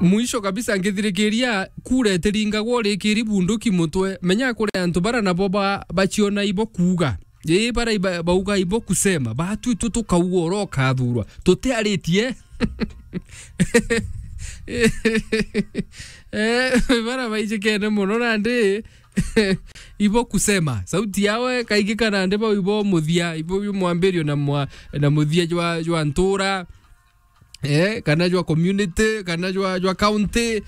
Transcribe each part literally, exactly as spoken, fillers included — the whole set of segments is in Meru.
Mwisho kabisa, ngithirikiria, kura itiringagwa urikiri bunduki mutwe. Menya kuri antu bara nabo ba-, baciona ibo kuuga. Ii, bara iba-, bauga ibo kusema. Batu itu tukauga uria ukathurwa. Tutiaritie. Eh, bara baijikene mono nandi. Ibo kusema. Sauti yao ikaigika nandi bau ibo muthia. Ibo mwambirio na mwa-, na muthia jwa, jwa ntura. Eh, kana jwa community, kana jwa, jwa county.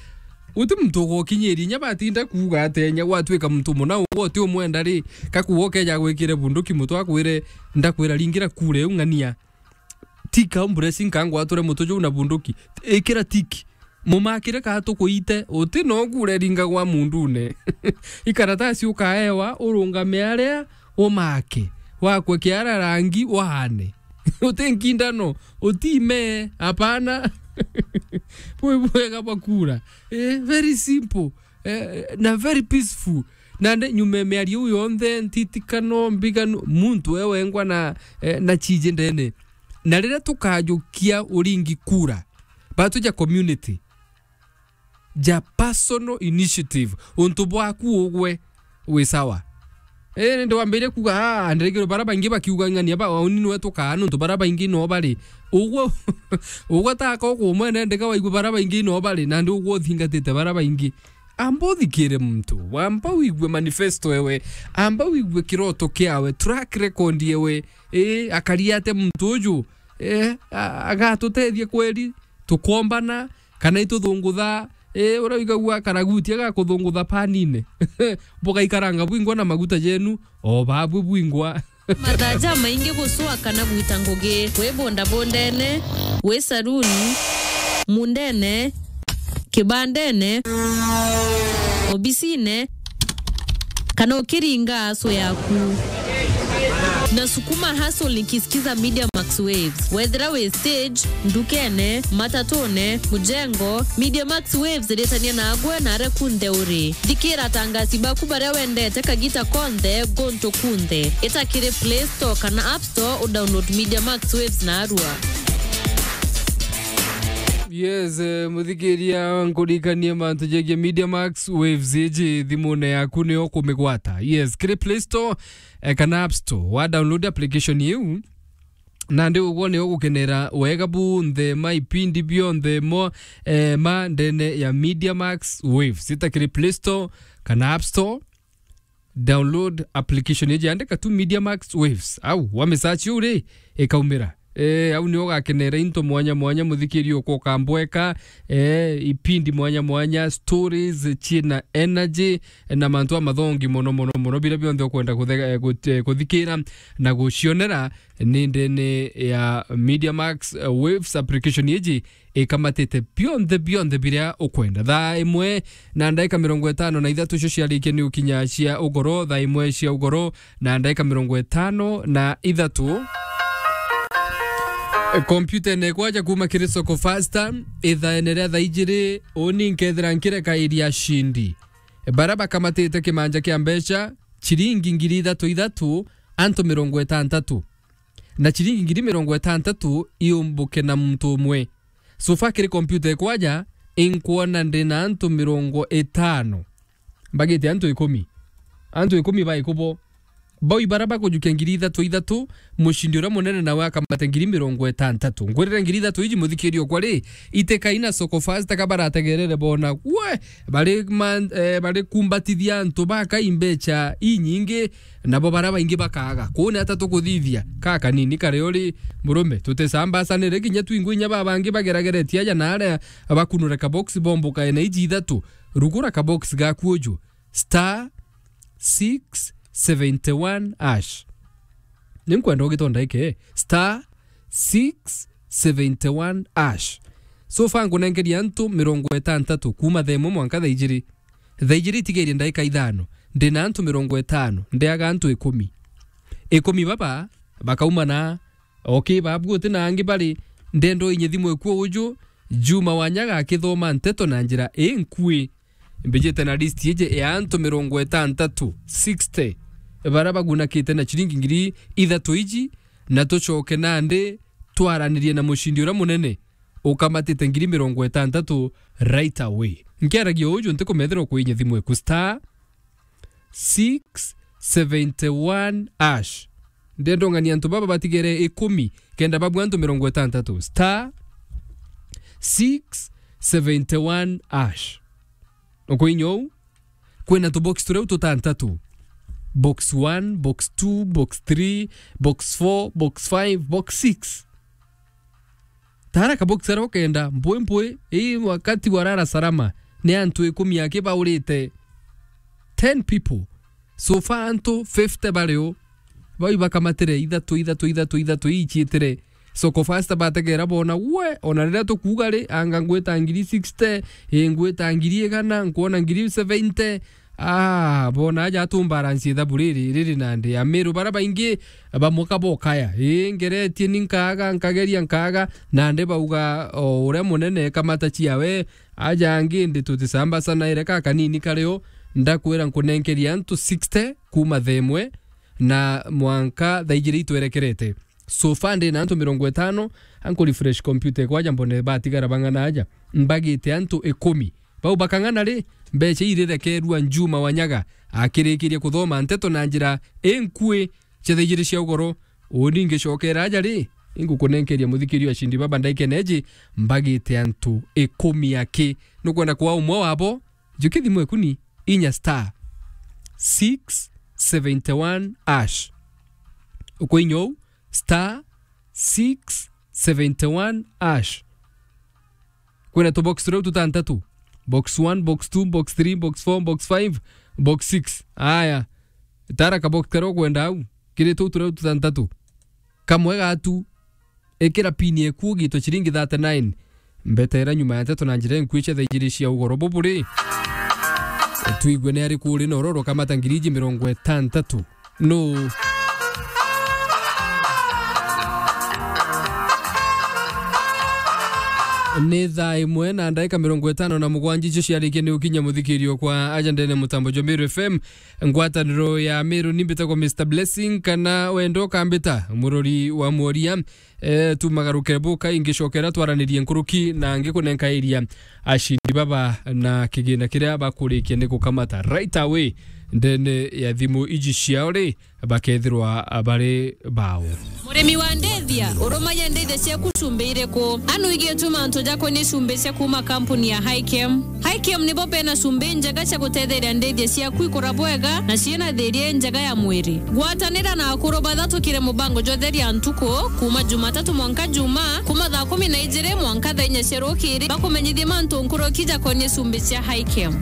Uti muntu ugokinyiria, inya batinda kuuga atia, inya gwatuika muntu muna ugwe uti umwenda ri, kakuuga ukeja gwikire bunduki mutwe akwire, "Ndakwira ringira kura iu ng'ania." Tika umbresi nkangwature mutu juu na bunduki. Ikira tiki. Mumakire kaa tukuite, uti no kura iringagwa mundune. Ikaratasi ukaewa, urungame aria, umake. Wakwe kiara rangi, waane. Uti nkindano, uti ime, hapana. Bwi bwega bwa kura. Eh, very simple. Eh, na very peaceful. Nande nyuma ya miario iu yonthe, ntitikano, mbiganu, muntu we wengwa na, eh, na ciji ndene. Na riria tukajukia uringi kura, batu ja community, ja personal initiative, untu bwaku ugwe wi sawa. Eh, nindi wambirie kuuga, "Ah, ndirigirwe bara baingi bakiuga ng'ania ba, uni niwe tukaa, nontu bara baingi no bari." Ugwe, ugwe taka ukumwene ndika waigua bara baingi no bari, nandi ugwe uthingatite bara baingi. Amba uthikire muntu, amba wigue manifesto ewe, amba wigue kiroto kiawe, track record ewe, ii, akari atia muntu uju, eh, a-, agatutethia kweri, tukombana, kana ituthungutha, ii, urauigagua karagutia gakuthungutha panine. Bugaikaranga bwingwa na maguta jenu, o babwe bwingwa. Mathaa jamaingi gucua kana gwita ngugi, wi bundabundene, wi saruni, mundene, kibandene, obisine, kana ukiringa aso yaku. Na sukuma hustle nikisikiza Media Max Waves. Wethira wi stage, ndukene, matatune, mujengo, Media Max Waves iritania nagwe na aria kunthe uri. Thikira atangasi baku baria wendete kagita konthe, guntu kunthe. Ita kiri Play Store kana App Store, u download Media Max Waves narua. Yes, eh, muthikiria, nkurikanie mantu jegie Media Max Waves iji thimune yaku nio kumigwata. Yes, kiri Play Store, eh, kana App Store, wa download application iu. Nandi ugwo nio gukenera wega bunthe ma ipindi bionthe mo, eh, ma ndene ya Media Max Waves. Ita kiri Play Store kana App Store, download application iji, andika tu Media Max Waves. Au, wamisearch uu ri, ikaumira. Eh, au nio ugakenera into mwanya mwanya, muthikiri ukwa ukambweka, eh, ipindi mwanya mwanya, stories ciina energy, na mantu amathongi mono mono mono, biria bionthe ukwenda kuthe-, eh, gut-, eh, kuthikira na gucionera ni ndene ya Media Max, eh, Waves application iji ikamatite bionthe bionthe biria ukwenda. Thaa imwe na ndaika mirongo itano na ithatu cio ciarikia ni ukinya cia ugoro, thaa imwe cia ugoro na ndaika mirongo itano na ithatu. Kompyuta ene kwaja kuma kiri Soko Fasta, ithaene ria thaa ijiri, uni nkethira nkireka iria cindi. Bara bakamatite kimanja kia mbeca, ciringi ngiri ithatu ithatu, antu mirongo itantatu. Na ciringi ngiri mirongo itantatu iumbuke na muntu umwe. So far kiri kompyuta ikwaja, inkwona ndi na antu mirongo itano. Mbagite antu ikumi. Antu ikumi baikubo. Bau ibara bakujukia ngiri ithatu ithatu, mucindi uria munene nawe akamate ngiri mirongo itantatu. Ngwirire ngiri ithatu iji, muthikiri okwa ri, itikaina Soko Fast ka barategerere bona. We, bari man-, eh, bari kumbatithia antu bakai mbeca inyingi, nabo bara baingi bakaga. Kuu ni ata tukuthithia? Ka kanini kari uri murume, tuticambacanire kinya twingwe inya babangi bagerageretie aja na aria bakunure kabox bombuka ene iji ithatu. Rugura kabox gaku uju. Star six seventy one hash. Ni nkwenda ugitonda iki, star six seventy one hash. So far nkunenkeria antu mirongo itantatu kuma thaa imwe mwanka thaa ijiri. Thaa ijiri itigerie ndaika ithano. Ndina antu mirongo itano, ndiaga antu ikumi. Ikumi baba bakauma na, okay, babu guti na angi bari, ndendo inye thimu ikuo uju, Juma Wanyaga akithoma nteto na njira inkui. Mbijite na list iji ya antu mirongo itantatu, sixty, bara bagunakite na ciringi ngiri ithatu iji, na tucoke nandi twaranirie na mucindi uria munene. ukamatite ngiri mirongo itantatu right away. Nkiaragia uju, ntikumethira ukuinya thimu eku star six seventy one hash. Ndendongania antu baba batigere ikumi, kenda babua antu mirongo itantatu. Star six seventy one hash. Ukuinya uu, kwina tubox turia tutantatu. Box one, box two, box three, box four, box five, box six. Tara kabox karia ukenda, mpwi mpwi, ii wakati wa lala salama, ni antu ikumi aki baurite. Ten people. So far antu fifty bari o. Bau ibakamatire ithatu, ithatu, ithatu, ithatu, iichiitire. Soko fast bategera bona, we, ona riria tukuuga ri, anga ngwita ngiri sixty, ii ngwita ngiri igana, nkwona ngiri seventy. Ah, bona aja atumbaransi ithabu riri, riri nandi. Amiru bara baingi bamwe kabokaya. Ii, ngeretie ni nkaaga, nkageria nkaaga, nandi bauga, o uria munene kamata ciawe, aja angi ndi tutisamba sana ire ka kanini kario, ndakwira nkunenkeria antu sixty kuuma themwe na mwanka thaa ijiri itwerekerete. So far ndi na antu mirongo itano, anku refresh computer ekwa aja mbone batigara bang'ana aja. Mbagite antu ikumi. Bau bakang'ana ri, mbecha irirekerua Njuma Wanyaga akirikirie kuthoma nteto na njira inkui cia thaa ijiri cia ugoro. Uni ngicokera aja ri, ingukunenkeria muthikiri wa Shindi Baba ndaikene eji, mbagite antu ikumi aki. Nukwenda kwa umwe wabo, njuki thimu ekuni, inya star six seventy one hash. Ukuinya uu, star six seventy one hash. Kwina tubox turia tutantatu. Box one, box two, box three, box four, box five, box six. Aya. Tara kabox karia ukwenda au. Kiri tuu turia tutantatu. Kamwe gatu. Ikira pin eku ugitwe ciringi thirty-nine. Mbetera nyuma ya nteto na njira inkui cia thaa ijiri cia ugoro buburi. Twigue ni ariku uri na uroro kamata ngiri iji mirongo itantatu. No. Ni thaa imwe na ndaika mirongo itano na mugwanja icio ciarikia ni ukinya muthikirio kwa aja ndene mutambo jwa Meru F M. Ngwataniro ya Meru ni mbitagwa Mister Blessing, kana wenda ukambita murori wa mworia. Eh, tumagaruke buka ingicokera twaranirie nkuruki na ngikunenkairia ashindi baba na kigina kiria bakurikia ni gukamata right away ndene ya thimu iji ciao ri, bakethirwa bari bao. Murimi wa ndithia, urumagia ndithia ciaku cumbi iriku? Anu igietuma antu jakonie cumbi cia kuuma kampuni ya Hikem. Hikem nibo bena cumbi njega cia gutetheria ndithia ciaku ikura bwega na ciina thiria njega ya mwiri. Gwatanira na akuru bathatukire mubango jwa Theria Ntuku, kuuma Jumatatu mwanka Juma, kuuma thaa kumi na ijiri mwanka thaa inya cia rukiri, bakumenyithie mantu nkuruki jakonie cumbi cia Hikem.